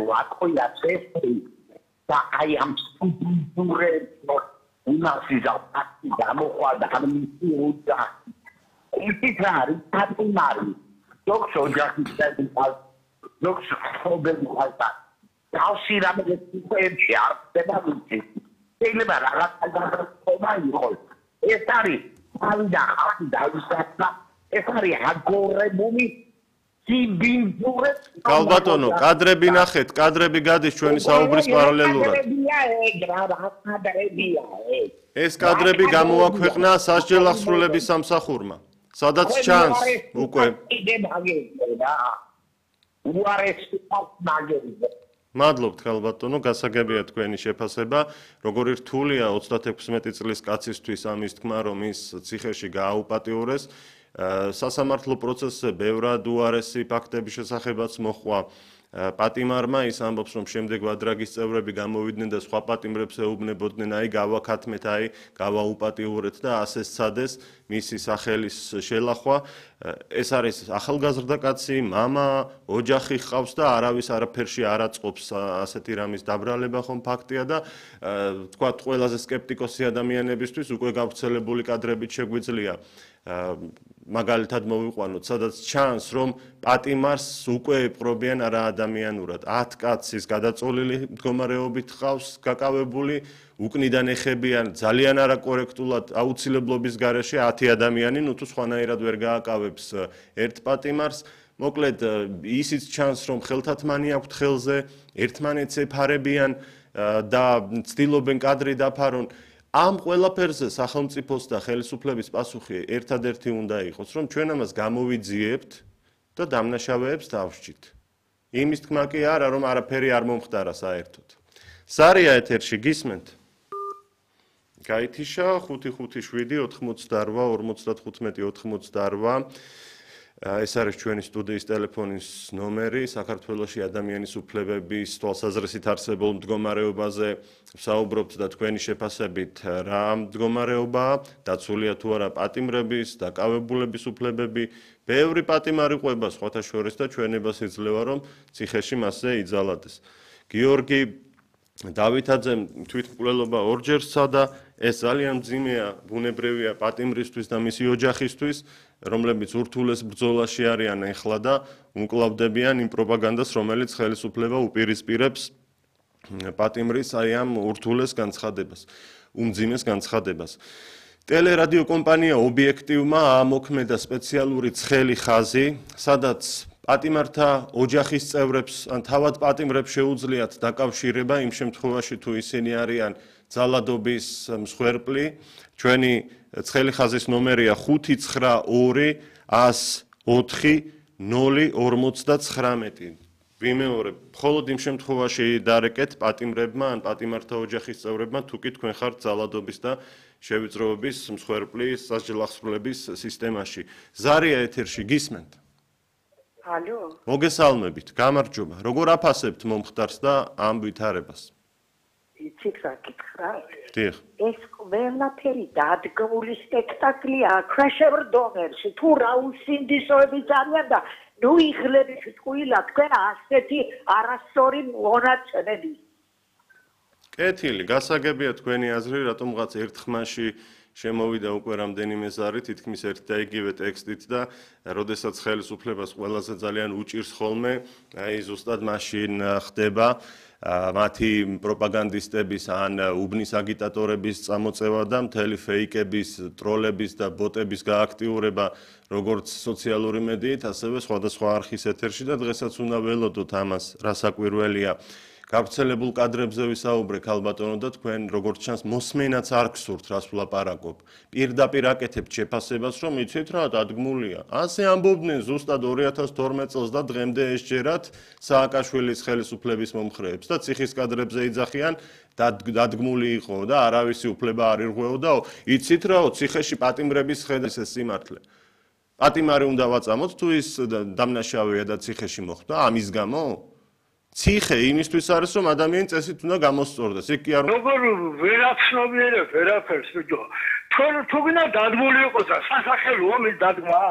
ვაკოია წესი და აი ამ სტუდენტურებს უნასიზა ფაქტი გამოყვადა ამ მისიუდა ის არის თათმარი დოქს ოჯახის წევრი დოქს ხობები ხალხა დავსი რამე პროექტი არ ხდება ვიცი შეიძლება რაღაცა გადაწყვეტა იყოს ეს არის თავიდან ხალხი დავისახა ეს არის აგორებული კალბატონო, კადრები ნახეთ, კადრები გადის ჩვენი საუბრის პარალელურად. ეს კადრები გამოაქვეყნა სასჯელ აღსრულების სამსახურმა. სადაც ჩანს უკვე. მადლობთ კალბატონო, გასაგებია თქვენი შეფასება. როგორი რთულია 36 წლის კაცისთვის ამის თქმა, რომ ის ციხეში გააუპატიურეს. სასამართლო პროცესზე ბევრად უარესი ფაქტების შესახებაც მოხვა პატიმარმა ის ამბობს რომ შემდეგ ვადრაგის წევრები გამოვიდნენ და სხვა პატიმრებს ეუბნებოდნენ აი გავაკათმეთ აი გავაუპატიურეთ და ასე სცადეს მისი სახელის შელახვა ეს არის ახალგაზრდა კაცი მამა ოჯახი ჰყავს და არავის არაფერში არ აწყობს ასეთი რამის დაბრალება ხომ ფაქტია და თქვათ ყველაზე სკეპტიკოსი ადამიანებისთვის უკვე გავრცელებული კადრებით შეგვიძლია მაგალითად მოვიყვანოთ, სადაც ჩანს, რომ პატიმარს უკვე ეპყრობიან არა ადამიანურად. 10 კაცის გადაწოლილი მდგომარეობით ხავს გაკავებული, უკნიდან ეხებიან ძალიან არაკორექტულად აუცილებლობის გარეშე 10 ადამიანი, ნუ თუ სხვანაირად ვერ გააკავებს ერთ პატიმარს. მოკლედ, ისიც ჩანს, რომ ხელთათმანი აქვთ ხელზე, ერთმანეთს ეფარებიან და ცდილობენ კადრი დაფარონ. ამ ყველაფერზე სახელმწიფოს და ხელისუფლების პასუხი ერთადერთი უნდა იყოს, რომ ჩვენ ამას გამოვიძიებთ და დამნაშავეებს დავსჯით. იმის თქმა კი არა, რომ არაფერი არ მომხდარა საერთოდ. სარია ეთერში გისმენთ? გაითიშა 557 88 55 88. ეს არის ჩვენი სტუდიის ტელეფონის ნომერი, საქართველოში ადამიანის უფლებების თვალსაზრისით არსებულ მდგომარეობაზე ვსაუბრობთ და თქვენი შეფასებით რა მდგომარეობაა, დაცულია თუ არა პატიმრების, დაკავებულების უფლებები, ბევრი პატიმარი ყვება სხვათა შორის და ჩვენებას იძლევა რომ ციხეში მასზე იძალადეს. გიორგი დავითაძემ თვითმკვლელობა ორჯერ სცადა, ეს ძალიან მძიმეა, ბუნებრივია პატიმრისთვის და მისი ოჯახისთვის, რომლებიც ურთულეს ბრძოლაში არიან ეხლა და უმკლავდებიან იმ პროპაგანდას, რომელიც ხელისუფლება უპირისპირებს პატიმრის აი ამ ურთულეს განცხადებას, უმძიმეს განცხადებას. ტელერადიო კომპანია ობიექტივმა აამოქმედა სპეციალური ცხელი ხაზი, სადაც პატიმართა ოჯახის წევრებს ან თავად პატიმრებს შეუძლიათ დაკავშირება იმ შემთხვევაში თუ ისინი არიან ძალადობის მსხვერპლი. ჩვენი ცხელი ხაზის ნომერია 592 104 059. ვიმეორებ, მხოლოდ იმ შემთხვევაში დარეკეთ პატიმრებმა ან პატიმართა ოჯახის წევრებმა, თუ კი თქვენ ხართ ძალადობის და შევიწროების მსხვერპლი სასჯელ აღსრულების სისტემაში. ზარია ეთერში გისმენთ? ალო? მოგესალმებით, გამარჯობა. როგორ აფასებთ მომხდარს და ამ ვითარებას? იცით რა გითხრათ? დიახ. ეს ყველაფერი დადგმული სპექტაკლია ქრაშევ დონერში. თუ რა უსინდისოებიც არიან და ნუ იღლების ტყუილა თქვენ ასეთი არასწორი მონაცემები. კეთილი, გასაგებია თქვენი აზრი, რატომღაც ერთხმაში შემოვიდა უკვე რამდენიმე ზარი, თითქმის ერთ და იგივე ტექსტით და როდესაც ხელისუფლებას ყველაზე ძალიან უჭირს ხოლმე, აი ზუსტად მაშინ ხდება მათი პროპაგანდისტების ან უბნის აგიტატორების წამოწევა და მთელი ფეიკების, ტროლების და ბოტების გააქტიურება როგორც სოციალური მედიით, ასევე სხვადასხვა არხის ეთერში და დღესაც უნდა ველოდოთ ამას, რა საკვირველია. გავრცელებულ კადრებზე ვისაუბრე ქალბატონო და თქვენ როგორც ჩანს მოსმენაც არ გსურთ რას ვლაპარაკობ. პირდაპირ აკეთებთ შეფასებას რომ იცით რა დადგმულია. ასე ამბობდნენ ზუსტად 2012 წელს და დღემდე ესჯერათ სააკაშვილის ხელისუფლების მომხრეებს და ციხის კადრებზე იძახიან დადგმული იყო და არავისი უფლება არ ირღვეოდაო. იცით რაო ციხეში პატიმრების ხედავს ეს სიმართლე. პატიმარი უნდა ვაწამოთ თუ ის დამნაშავეა და ციხეში მოხვდა ამის გამო? ციხე იმისთვის არის რომ ადამიანი წესით უნდა გამოსწორდეს. იქ კი არ როგორ ვერაცნობიერებ ვერაფერს ბიჭო. თუ გინდა დადგმული იყოს და სასახელოა მის დადგმა.